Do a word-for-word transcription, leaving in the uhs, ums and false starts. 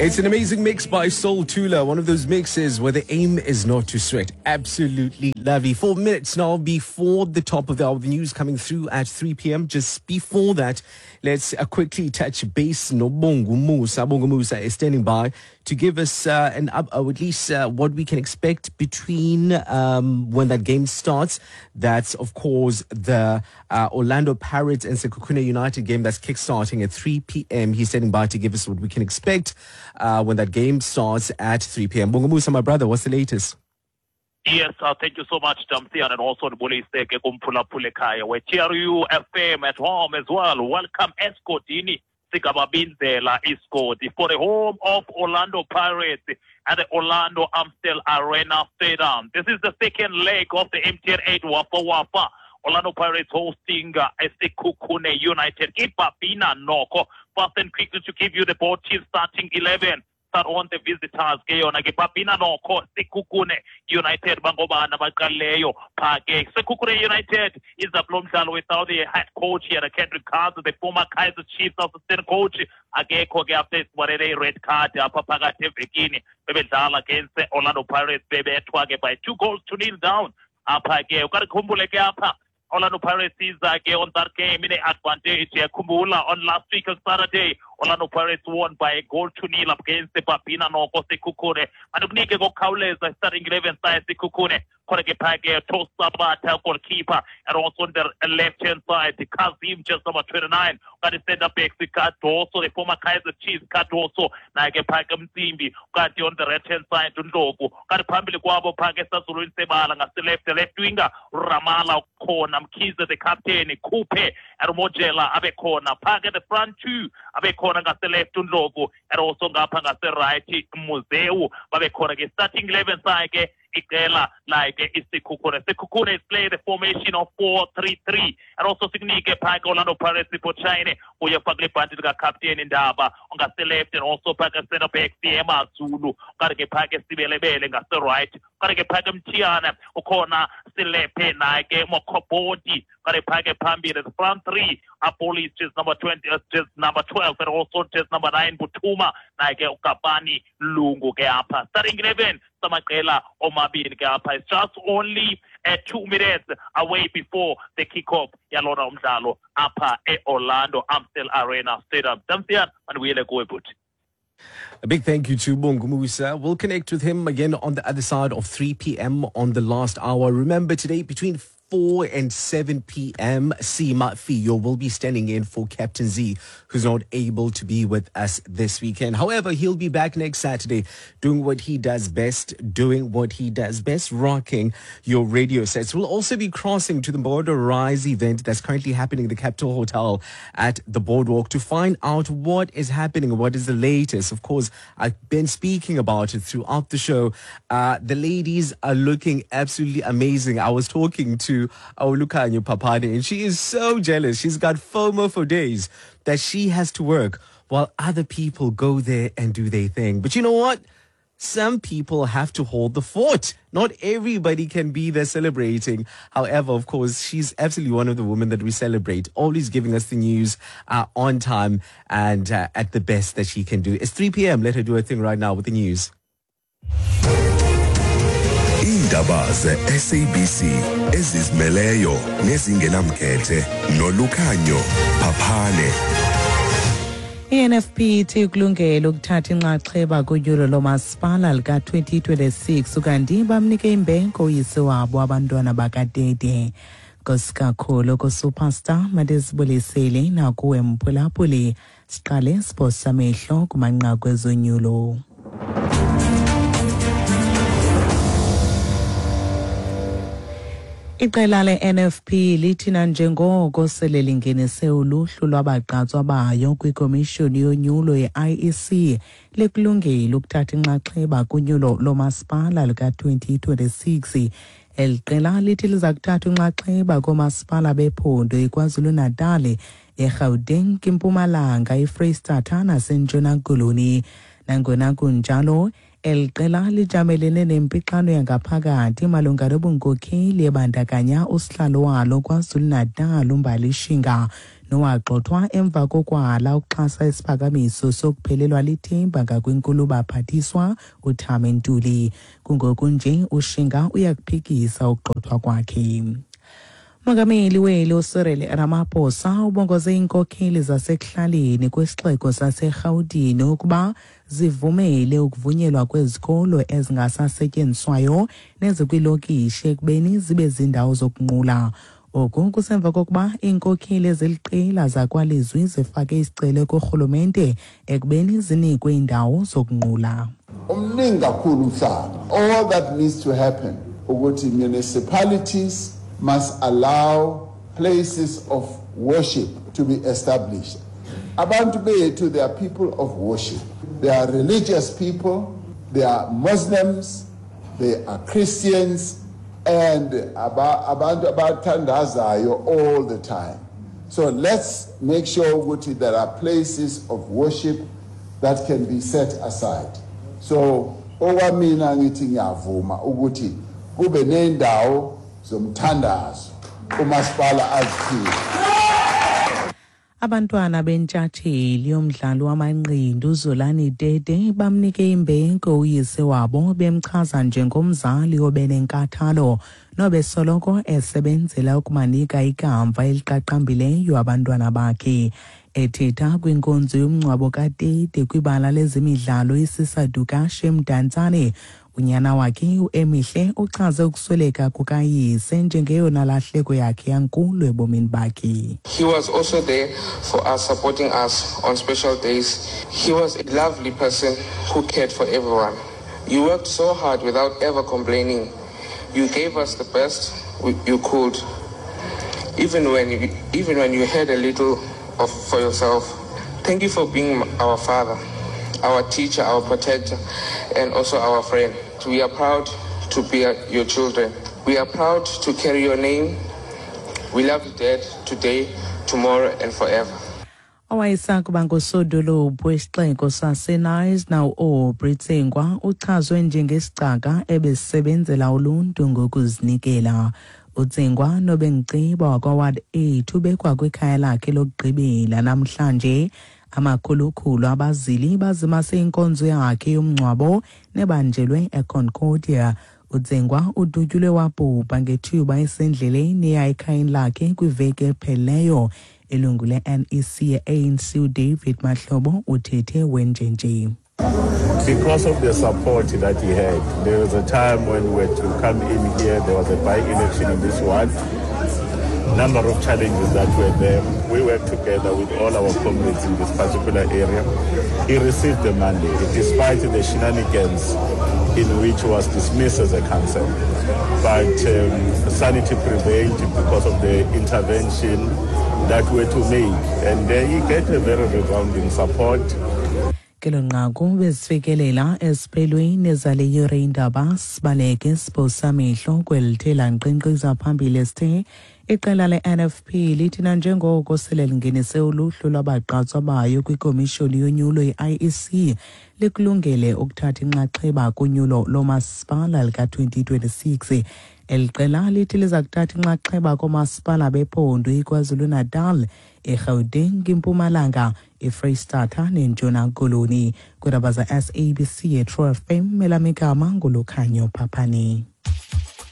It's an amazing mix by Soul Tula, one of those mixes where the aim is not to sweat. Absolutely lovely. Four minutes now before the top of the hour, the news coming through at three p m. Just before that, let's uh, quickly touch base. Nobongu Musa. Bongu Musa is standing by to give us uh, an up, or at least uh, what we can expect between um, when that game starts. That's, of course, the uh, Orlando Pirates and Sekhukhune United game that's kickstarting at three p m. He's standing by to give us what we can expect uh, when that game starts at three p m. Bongu Musa, my brother, what's the latest? Yes, uh, thank you so much, Damsian, and also ndibulise ke kumphulaphula ekhaya we-T R U F M at home as well. Welcome esigodini sikaBabinzela isigodi for the home of Orlando Pirates at the Orlando Amstel Arena Stadium. This is the second leg of the M T N eight Wafa Wafa. Orlando Pirates hosting uh, Sekhukhune United. IBabina Noko. Fast and quickly to give you the both teams starting eleven. Start on the visitors ke yona ke Babina Noko. Sekhukhune United bangobani abaqalileyo pha ke? Sekhukhune United iza kulo mdlalo without the head coach here, Kendrick Cards, the former Kaizer Chiefs assistant coach, akekho ke after isibalele i-red card apha phakathi evekini bebedlala against Orlando Pirates, bebethwa ke by two goals to nil down apha ke. Ukalikhumbule ke apha Orlando Pirates iza ke on that game in advantage. Khumbula on last week on Saturday, Orlando Pirates won by a goal to nil against the Babina Noko Sekhukhune. Mandikunike ngokukhawuleza starting eleven side Sekhukhune. Khona ke phaa ke Tosabata, goalkeeper, and also on the left hand side Kazim, just number twenty-nine. Kanti center backs Cardoso, the former Kaizer Chiefs Cardoso, naye ke phaa ke Mtsimbi. Kanti on the right hand side uNdlovu. Kanti phambili kwabo phaa ke sazulwini sebala ngase left, left winger Ramala khona, Mkhize the captain, Khuphe and Mojela abe khona phaa ke. The front two abe khona ngase left uNdlovu and also ngapha ngase right Muzewu babe khona ke. Starting eleven sakhe iqela like iSekhukhune. Sekhukhune is play the formation of four three three, and also sikunike phaa ke Orlando Pirates, Sipho Chaine uye faka ibhanti likakapteni Ndaba ngase left, and also phaa ke center back Siema Zulu, kanti ke phaa ke Sibelebele ngase right, kanti ke phaa ke Mthiyane ukhona, Silephe naye ke Mokobodi, kanti phaa ke phambili the front three Apolis just number twenty, uh, just number twelve, and also just number nine Butuma, naye ke uKapani Lungu ke apha. Starting eleven samaqela omabini ke apha. It's just only uh, two minutes away before the kickoff yalona umdlalo apha e-Orlando Amstel Arena Stadium. Damsian, mandibuyele kuwe, bhuti. A big thank you to Bongu Musa. We'll connect with him again on the other side of three p m on the last hour. Remember today between four and seven p m, Sima Fiyo will be standing in for Captain Z, who's not able to be with us this weekend. However, he'll be back next Saturday doing what he does best, doing what he does best, rocking your radio sets. We'll also be crossing to the Border Rise event that's currently happening at the Capital Hotel at the Boardwalk to find out what is happening, what is the latest. Of course, I've been speaking about it throughout the show. Uh, the ladies are looking absolutely amazing. I was talking to our Lukanyo Papani, and she is so jealous. She's got FOMO for days that she has to work while other people go there and do their thing. But you know what? Some people have to hold the fort. Not everybody can be there celebrating. However, of course, she's absolutely one of the women that we celebrate, always giving us the news uh, on time and uh, at the best that she can do. It's three p m. Let her do her thing right now with the news. Iindaba ze-S A B C ezizimeleyo nezingenamkhethe noLukhanyo Phaphane. I-N F P ithi ikulungele ukuthatha inxaxheba kunyulo lomasipala lika-twenty twenty-six, ukanti bamnike imbeko uyise wabo abantwana bakadede. Nkosi kakhulu kuSuperstar, mandizibulisele nakuwe mphulaphuli. Siqale siphosa amehlo kumanqaku ezonyulo. Iqela le-N F P lithi nanjengoko sele lingenise uluhlu lwabagqatswa bayo kwikomishoni yonyulo ye-I E C, likulungele ukuthatha inxaxheba kunyulo lomasipala luka-twenty twenty-six. Eli qela lithi liza kuthatha inxaxheba koomasipala bephondo iKwaZulu-Natal, eGauteng, iMpumalanga, iFreyistata naseNtshona Koloni. Nangona kunjalo, Eli qela lijamelene nempixano yangaphakathi malunga nobunkokheli ebandakanya usihlalo walo KwaZulu-Natal uMbali Shinga, nowagxothwa emva kokwala ukuxhasa isiphakamiso sokuphelelwa lithemba ngakwinkulu baphathiswa uThami Ntuli. Kungoku nje uShinga uyakuphikisa ukugxothwa kwakhe. Umongameli weli uCyril Ramaphosa ubongoze iinkokheli zasekuhlaleni kwisixeko saseRhawutini ukuba zivumele ukuvunyelwa kwezikolo ezingasasetyenziswayo nezikwiilokishi ekubeni zibe ziindawo zokunqula. Oku kusemva kokuba iinkokheli eziliqela zakwalizwi zifake isicelo kurhulumente ekubeni zinikwe iindawo zokunqula. Umningi kakhulu umhlaba. All that needs to happen ukuthi municipalities must allow places of worship to be established. Abantu bethu, they are people of worship. They are religious people, they are Muslims, they are Christians, and abantu abathandazayo all the time. So let's make sure ukuthi there are places of worship that can be set aside. So okwamina ngithi ngiyavuma ukuthi kube nendawo zomthandazo umasipala aziphiwe. Abantwana bentshatsheli yomdlalo wamanqindi uZolani Tete bamnike imbeko uyise wabo, bemchaza njengomzali obenenkathalo nobesoloko esebenzela ukubanika ikamva eliqaqambileyo abantwana bakhe. Ethetha kwinkonzo yomngcwabo kaTete kwibala lezemidlalo iSisa Dukashe eMdantsane, unyana wakhe uEmihle uchaze ukusweleka kukayise njengeyona lahleko yakhe yankulu ebomini bakhe. He was also there for us, supporting us on special days. He was a lovely person who cared for everyone. You worked so hard without ever complaining. You gave us the best you could, even when you, even when you had a little of for yourself. Thank you for being our father, our teacher, our protector, and also our friend. We are proud to be your children. We are proud to carry your name. We love you, Dad, today, tomorrow, and forever. Owayesakuba ngusodolophu wesixeko saseKnysna uAubrey Tsengwa uchazwe njengesicaka ebesebenzela uluntu ngokuzinikela. UTsengwa nobengciba wakwa-Ward eight ubekwa kwikhaya lakhe lokugqibela namhlanje. Amakhulukhulu abazili bazimase inkonzo yakhe yomngcwabo nebanjelwe eConcordia. UTsengwa udutyulwe wabhubha ngethuba esendleleni eya ekhayeni lakhe kwiveki ephelileyo. Ilungu le-N E C ye-A N C uDavid Mahlobo uthethe wenjenje. Because of the support that he had, there was a time when we were to come in here, there was a by-election in this ward. Number of challenges that were there. We worked together with all our comrades in this particular area. He received the mandate, despite the shenanigans in which he was dismissed as a councillor. But um, sanity prevailed because of the intervention that we were to make. And uh, he get a very resounding support. Kelo nqaku bezifikelela esiphelweni zale yure indaba. Sibaleke siphosamehlo kwelithe lanqenqiza phambili esithe iqela le-N F P lithi nanjengoko sele lingenise uluhlu lwabagqatswa bayo kwikomishoni yonyulo i-I E C, likulungele ukuthatha inxaxheba kunyulo lomasipala lika-twenty twenty-six. Eli qela lithi liza kuthatha inxaxheba koomasipala bephondo iKwaZulu-Natal, eGauteng, iMpumalanga, iFreyistata neNtshona Koloni. Kwiindaba za-S A B C eTrue F M, elam igama nguLukhanyo Phaphani.